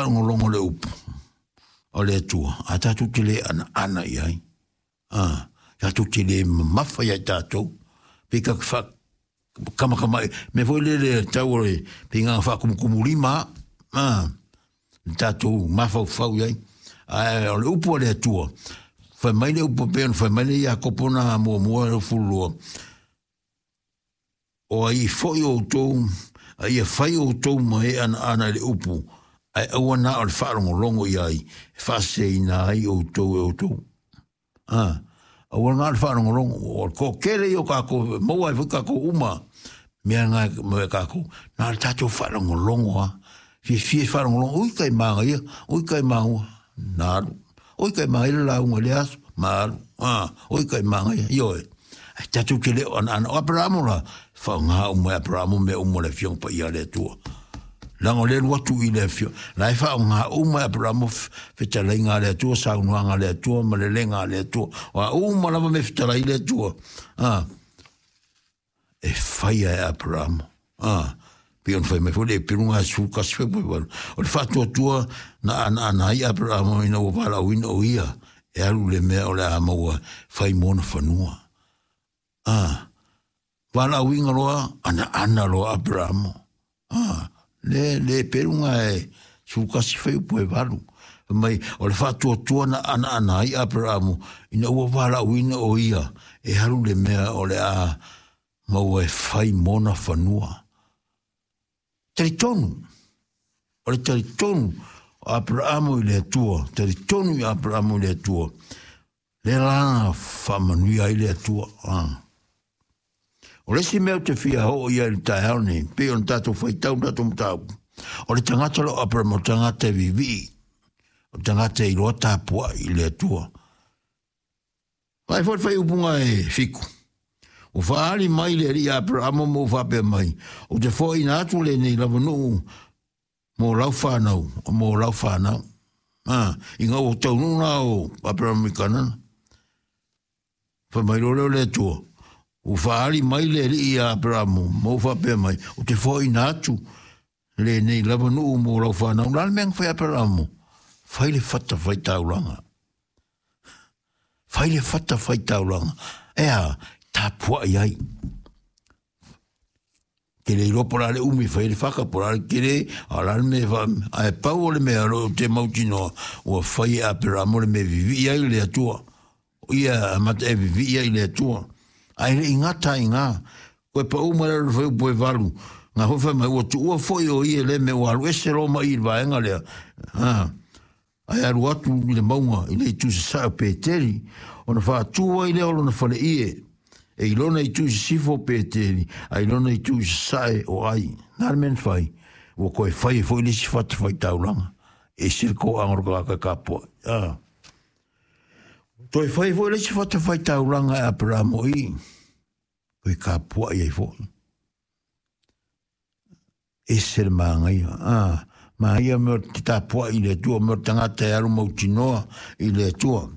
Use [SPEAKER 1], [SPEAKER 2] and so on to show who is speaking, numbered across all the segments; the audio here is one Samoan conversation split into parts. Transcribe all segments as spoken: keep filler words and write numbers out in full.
[SPEAKER 1] faalogologo le upu o le Atua, a tatou te le anaana i ai. A, tatou te le mamafa ia i tatou. Pe ka fa kama kama me foi le le tau o le pe ngā whakumukumulima a le tatou mafaufau i ai. Ae o le upu a le Atua, fai mai le upu pe ona fai mai le Iakopo na muamua le fulua. O ai foi outou, a ia fai outou ma e anaana i le upu, ae aua na o le faalogologo i ai, e faaseseina ai outou e outou. A, aua na o le faalogologo, o le toatele ia o kākou, maua ai foi kākou uma, mea ngā me kākou, na le tatou faalogologo a, fiafia e faalogologo, ui kai māga ia, ui kai māua, na alu, ui kai māga ia le lauga i le aso, ma alu, a, ui kai māga ia, ioe. Ai tatou te le o anaana, o Aperamo la, whaonga uma e Aperamo mea uma le afioga paia a le Atua. Leaga o le alu atu i le afioga, la e faaaoga uma e Aperamo fetalaiga a le Atua, saunoaga a le Atua, ma lelega a le Atua. O a uma lava mea fetalai le Atua, a, e faia e Aperamo. A, pei ona fai mai foi le epeluga e sefulu tasi fai mai valu. O le faatuatua na anaana ai Aperamo ina ua valaauina o ia e alu le mea o le a maua fai mo ona fanua. A, valaauina loa, anaana loa Aperamo. A, le, le epeluga e sefulu tasi fai upu e valu. Fai mai, o le faatuatua na anaana ai Aperamo ina ua valaauina o ia e alu le mea o le a maua e fai mo ona fanua. Talitonu, o le talitonu o Aperamo i le Atua, talitonu i Aperamo i le Atua, le la na faamanuia ai le Atua. Ah. O le isi mea ou te fia oo i ai i le taeao nei, pei ona tatou faitau le tatou mataupu, o le tagata lea o Aperamo, o le tagata e vivii, o le tagata e iloa tapuai i le Atua. Vaai foi le faaiupuga e fitu. Ua faaali mai le alii Aperamo ma ua faapea mai, ou te foaiina atu lenei lava nuu mo lau whanau, mo lau whanau. Ah, i ngā ua taunuu nā o Aperamo i Kanana. Whai mai loa lea o le Atua, ua faaali mai le alii ia Aperamo ma ua faapea mai, ou te foaiina atu lenei lava nuu mo lau whanau. La le mea na fai Aperamo, fai le fata fai taulaga. Fai le fata fai taulaga. E a, tapuai ai. Te le iloa po o le a le umi e fai ai le whaka, po o le a le tele, a o le a le mea e wha, ae pau o le mea o lo o te mautinoa, ua fai e Aperamo le mea e vivii ai le Atua. O ia amata e vivii ai le Atua. Ae le i gata ai ngā, koe paʻu mai lalo i le fuaiupu e valu, ngā foi fai mai, ua tuua foi o ia le mea ua alu ese loa mai i le vaega lea. Ha. Ae alu atu i le mauga i le itu sasae o Peteli, ona faatū ai lea o lona faleie, e i lona itu i sisifo o Peteli, a i lona itu i sasae o Ai. Na le mea na fai, ua toe fai ai foi le isi fatafaitaulaga, e ese le toaga o le tagata e kapoai. A. Toe fai ai foi le isi fatafaitaulaga e Aperamo i, toe kapoai ai foi. Ese le māgaia. A, māia mea o te tapuai i le Atua, mea o le tagata e alu mautinoa i le Atua.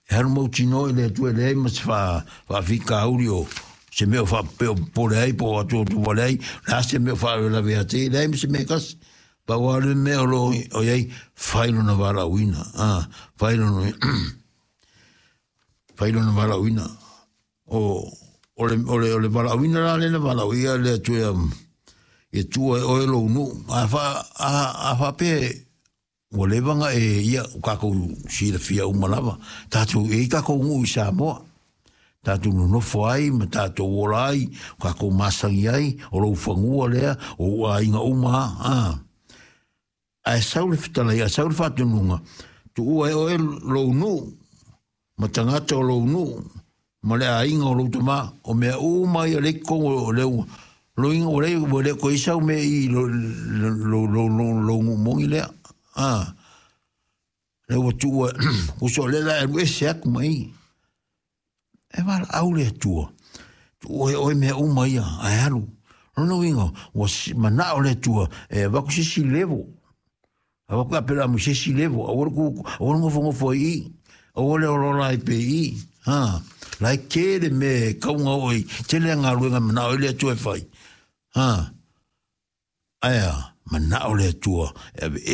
[SPEAKER 1] E alu mautinoa i le Atua e leai ma se faafitauli o se mea o faapea o popole ai po o atuatuvale ai, o le a se mea o faalavelave ia te ia, leai ma se mea e tasi. Pau lava le mea o lo o i ai, fai lona valaauina. A, fai lona, fai lona valaauina. O, o le, o le, o le valaauina la lea na valaauia le Atua ia, ia tuua e oe lou nuu. A fa, a, a faapea ua leva ona e ia, o kākou silafia uma lava, tātou, e i kākou nuu i Samoa, tātou nonofo ai ma tātou ola ai, o kākou masani ai, o lou fanua lea, o ou aiga uma, a. Ae sau le fetalai, ae sau le faatonuga, tuua e oe lou nuu, ma tagata o lou nuu, ma le aiga o lou tama, o mea uma ia lea i totonu o le loiga, ua leai, ua le toe i ai sau mea i lo, lo, lo, lo, lou nuu moni lea. A, lea ua tuua, uso o lea la e alu ese atu ma i. E valaau le Atua, tuua e oe mea uma ia, ae alu. Lona uiga, ua manao le Atua e avatu se isi level. Avatu e Aperamo i se isi level, aua le ku, aua le nofonofo ai i, aua le olaola ai pea i i. Ha, la e tele mea e kauga oe i, tele a galuega e manao ai le Atua e fai. Ha, ae a, manao le Atua e aveese.